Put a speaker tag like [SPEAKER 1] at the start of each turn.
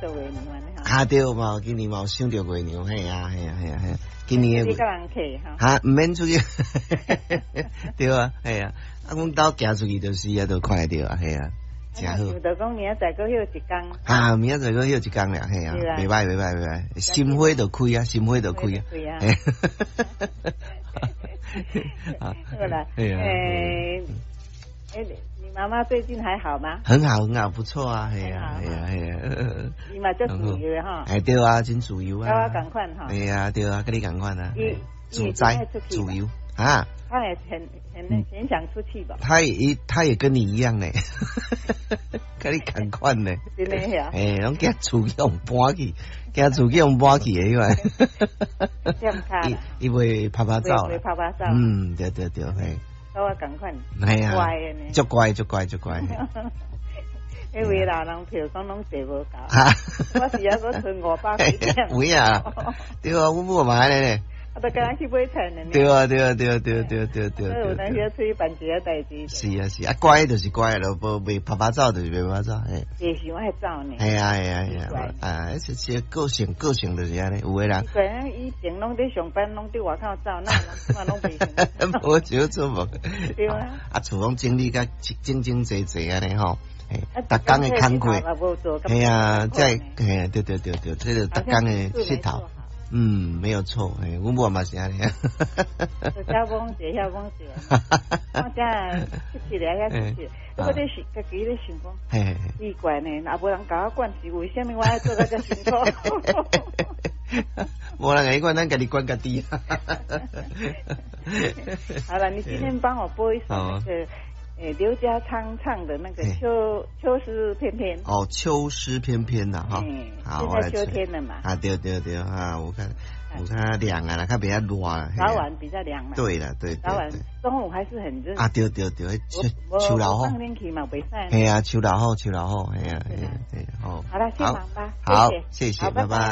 [SPEAKER 1] 著月娘按呢吼。
[SPEAKER 2] 啊對嘛，今年嘛有賞著月娘，嘿啊嘿啊嘿啊嘿。今年的
[SPEAKER 1] 你佮人客吼。
[SPEAKER 2] 哈，毋免出去，對啊，嘿啊，啊，阮兜行出去就是啊，就看會著啊，嘿啊，誠好。
[SPEAKER 1] 想著講明仔載閣歇一工。
[SPEAKER 2] 啊，明仔載閣歇一工爾，嘿啊，袂䆀袂䆀袂䆀，心花就開啊，心花就開啊。
[SPEAKER 1] 啊。好啦，欸，欸，你媽媽最近還好嗎？
[SPEAKER 2] 很好很好，不錯啊，係啊係啊係啊。
[SPEAKER 1] 伊嘛足自由的吼。
[SPEAKER 2] 欸對啊，真自由啊。
[SPEAKER 1] 佮我仝款吼。
[SPEAKER 2] 係啊對啊，佮你仝款啊。自在自由啊。
[SPEAKER 1] 他也很很很想出去吧？
[SPEAKER 2] 他也跟你一樣呢，佮你仝款呢。
[SPEAKER 1] 真的呀？
[SPEAKER 2] 欸，攏驚厝去予搬去，驚厝去予搬去的彼款。伊伊會趴趴走。
[SPEAKER 1] 會趴趴走。
[SPEAKER 2] 嗯，對對對，嘿。
[SPEAKER 1] 佮我仝款。
[SPEAKER 2] 係啊。
[SPEAKER 1] 乖的呢。
[SPEAKER 2] 足乖足乖足乖。
[SPEAKER 1] 彼位老人票講攏坐無夠，我是猶閣賰500幾點。
[SPEAKER 2] 有影啊？對啊，阮母嘛按呢咧。
[SPEAKER 1] 啊，就敢若去買菜呢。
[SPEAKER 2] 對啊，對啊，對啊，對對對對。
[SPEAKER 1] 有當時出去辦一個代誌。
[SPEAKER 2] 是啊是啊，乖就是乖咯，無袂趴趴走就是袂趴趴走，嘿。
[SPEAKER 1] 會想愛走呢。
[SPEAKER 2] 係啊係啊係啊，啊，這是個性個性就是按呢，有的人。
[SPEAKER 1] 對啊，以前攏佇上班，攏佇外口走，哪有人攏袂想。
[SPEAKER 2] 無少出門。
[SPEAKER 1] 對啊。
[SPEAKER 2] 啊，厝攏整理甲整整齊齊按呢吼。逐工的工課，係啊，這嘿，對對對對，這個逐工的穡頭，嗯，沒有錯，欸，阮母嘛是按呢。
[SPEAKER 1] 遮講者，遐講者，我遮出去咧，遐出去，我咧想，家己咧想講，奇怪呢，若無人共我管是為啥物我愛做甲遮辛苦？
[SPEAKER 2] 無人共你管，咱家己管家己。
[SPEAKER 1] 好了，你今天幫我播一首那個。欸，劉家昌唱的那個秋詩翩翩。
[SPEAKER 2] 哦，秋詩翩翩吶，哈。
[SPEAKER 1] 好，現在秋天了嘛。
[SPEAKER 2] 啊，對對對，啊，我看我看涼啊，較袂遐熱啦。
[SPEAKER 1] 早晚比較涼嘛。
[SPEAKER 2] 對啦，對。
[SPEAKER 1] 早晚中午還是很熱。
[SPEAKER 2] 啊，對對對，秋老虎。
[SPEAKER 1] 放冷氣嘛，袂使。
[SPEAKER 2] 係啊，秋老虎，秋老虎，係啊，係啊，好。
[SPEAKER 1] 好了，先忙吧。
[SPEAKER 2] 好，謝謝，拜拜。